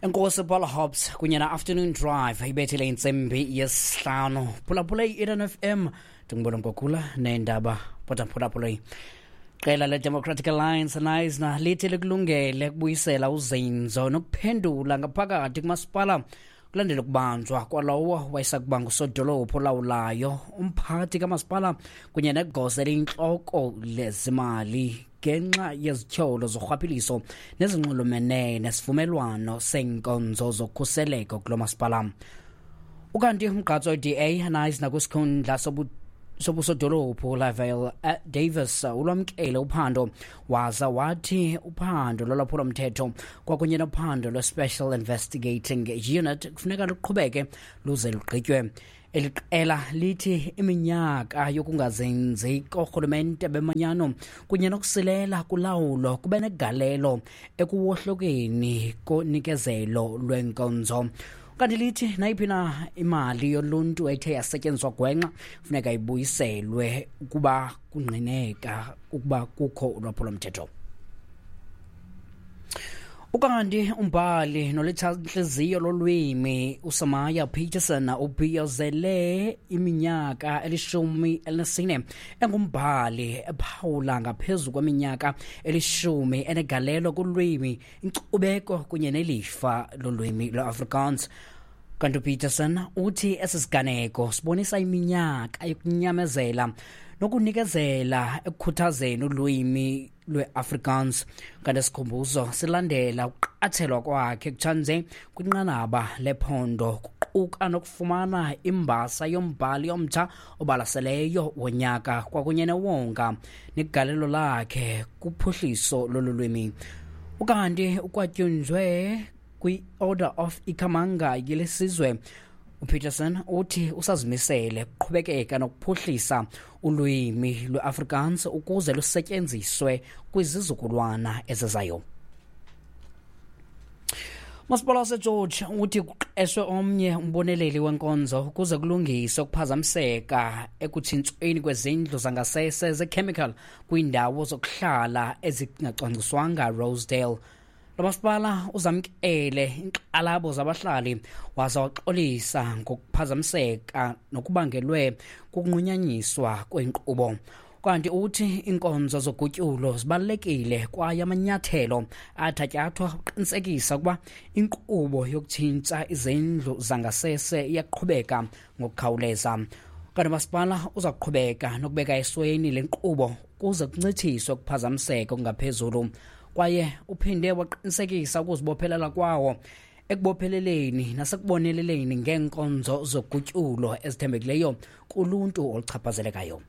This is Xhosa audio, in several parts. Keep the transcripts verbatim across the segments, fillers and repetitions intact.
Enkosi Paul Hobbs kunye na-Afternoon Drive ibethele intsimbi yesihlanu. Phulaphula i-Eden F M, ndingubona Mgogula neendaba phulaphula. Qela le-Democratic Alliance Knysna lithi likulungele ukubuyisela uzinzo nokuphendula ngaphakathi kumasipala kulandela ukubanjwa kwalowo wayesakuba ngusodolophu olawulayo, umphathi kamasipala kunye negosa eliyintloko lezimali ngenxa yezityholo zorhwaphilizo nezinxulumene nesivumelwano seenkonzo zokhuseleko kulo masipala. Ukanti umgqatso we-D A Knysna kwisikhundla sobusodolophu Lavelle Davis ulwamkele uphando waza wathi uphando lolwaphulomthetho kwakunye nophando lwe-Special Investigating Unit kufuneka luqhubeke luze lugqitywe. Eli qela lithi iminyaka yokungazinzi koorhulumente bemanyano kunye nokusilela kulawulo kube negalelo ekuwohlokeni konikezelo lwenkonzo. Kanti lithi nayiphi na imali yoluntu ethe yasetyenziswa gwenxa funeka ibuyiselwe ukuba kungqineka ukuba kukho ulwaphulomthetho. Ukanti umbhali nolitshantliziyo lolwimi uSamaya Peterson ubhiyozele iminyaka elishumi elinesine engumbhali ephawula ngaphezu kweminyaka elishumi enegalelo kulwimi, inkcubeko kunye nelifa lolwimi lweAfrikaans. Kanti uPeterson uthi esi siganeko sibonisa iminyaka yokunyamezela nokunikezela ekukhuthazeni ulwimi lweAfrikaans. Kanti isikhumbuzo silandela ukuqathelwa kwakhe kutshanje kwinqanaba lephondo kuquka nokufumana imbasa yombhali omtsha obalaseleyo wonyaka kwakunye newonga negalelo lakhe kuphuhliso lolu lwimi. Ukanti ukwatyunjwe kwi-Order of Ikamanga yelesizwe, uPeterson uthi usazimisele ukuqhubekeka nokuphuhlisa ulwimi lweAfrikaans ukuze lusetyenziswe kwizizukulwana ezizayo. Masipala waseGeorge uthi kuqeshwe omnye umboneleli wenkonzo ukuze kulungiswe ukuphazamiseka ekutshintshweni kwezindlu zangasese zechemical kwiindawo zokuhlala ezingacwangciswanga Rosedale. Lo masipala uzamkele iinkxalabo zabahlali waza waxolisa ngokuphazamiseka nokubangelwe kukunqunyanyiswa kwenkqubo. Kanti uthi iinkonzo zogutyulo zibalulekile kwaye amanyathelo athatyathwa ukuqinisekisa ukuba inkqubo yokutshintsha izindlu zangasese iyaqhubeka ngokukhawuleza. Kanti umasipala uza kuqhubeka nokubeka esweni le nkqubo ukuze kuncitshiswe ukuphazamiseka okungaphezulu. Kwaye uphinde waqinisekisa ukuzibophelela kwawo ekubopheleleni nasekuboneleleni ngeenkonzo zogutyulo ezithembekileyo kuluntu oluchaphazelekayo.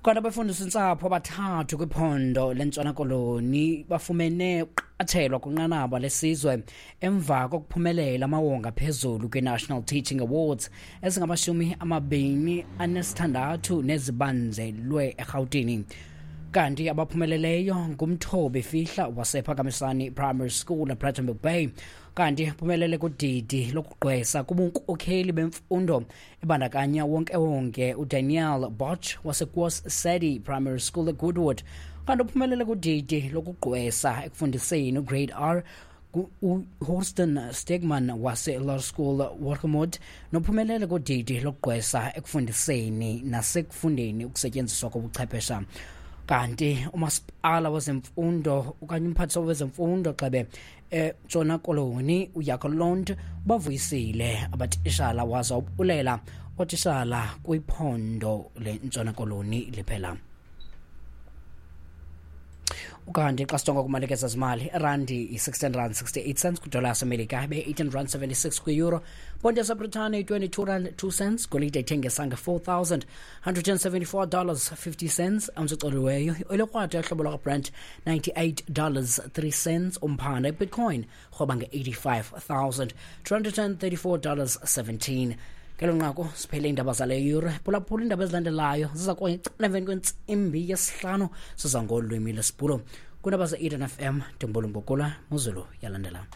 Kanti abafundisi ntsapho abathathu kwiphondo leNtshona Koloni bafumene ukuqathelwa kwinqanaba lesizwe emva kokuphumelela amawonga phezulu kwi-National Teaching Awards ezingamashumi amabini anesithandathu nezibanjelwe eRhawutini. Kanti abaphumeleleyo ngumthobi Fihla wasePhakamisani Primary School ePlettenberg Bay, kanti uphumelele kudidi lokugqwesa kubunkokheli bemfundo ebandakanya wonke wonke uDaniel Boch waseKwas Sedi Primary School eGoodwood, kanti uphumelele kudidi lokugqwesa ekufundiseni uGrade R uHorston Stegman wase-Laerskool Wargemont, nophumelele kudidi lokugqwesa ekufundiseni nasekufundeni ukusetyenziswa kobuchwephesha. Kanti umasipala wezemfundo okanye umphathiswa wezemfundo xebe eNtshona Koloni uJacques Lond bavuyisile abatishala waza ubulela ootishala kwiphondo leNtshona Koloni liphela. Ukanti xa sijonga kumalekeza zimali, irandi i-sixteen rand sixty-eight cents kwidola yaseMelika, ibe-eighteen rand seventy-six kwi-euro, ponti yaseBritane i-twenty-two rand two cents, golide ithengisa nge-four thousand hundred and seventy-four dollars fifty cents, ounce ecoliweyo iolekrwada yohlobo lwakwaBrent ninety-eight dollars three cents, umphanda iBitcoin rhoba nge-eighty-five thousand two hundred and thirty-four dollars seventeen. Ngelo nqaku siphele iindaba zale yure. Phulaphula iindaba ezilandelayo ziza kuba emveni kwentsimbi yesihlanu siza ngolwimi lwesiBhulu. Kwiindaba ze-Eden F M ndinguBolo Mbokula, Muzulu yalandela.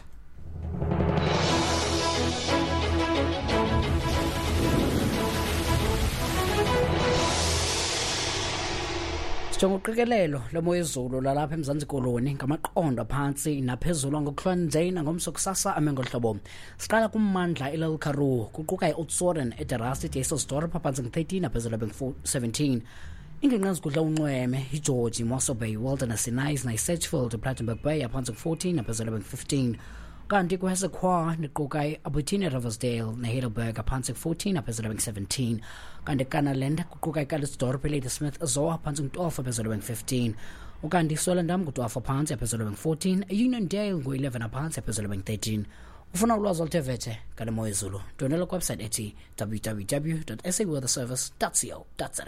Sijonga uqikelelo lomo yezulu lalapha eMzantsi Koloni ngamaqondo aphantsi naphezulu ngokuhlwanje nangomso kusasa ame ngohlobo. Siqala kummandla iLittle Karoo kuquka iOudtshoorn, eDerasi, iDysselsdorp aphantsi ngu-thirteen aphezulu bengu seventeen. Ingingqi ezigudla unxweme iGeorge, Mossel Bay, Wilderness, iKnysna, iSedgefield, iPlattenberg Bay aphantsi ngu-fourteen aphezulu bengu-fifteen. Kanti kwesekhwa niquka i-Albertina, Riversdale neHeidelberg aphantsi ku-fourteen aphezulu bengu-seventeen. Kanti Kannaland kuquka iCalitzdorp, iLadysmith, Zoar aphantsi ngu-twelve aphezulu bengu-fifteen. Ukanti iSwellendam ngu-twelve aphantsi aphezulu bengu-fourteen, Uniondale ngu-eleven aphantsi aphezulu bengu-thirteen. Ufuna ulwazi oluthe vetshe ngale mo yezulu, ndwendwela kwiwebsite ethi w w w dot s a weather service dot co dot za.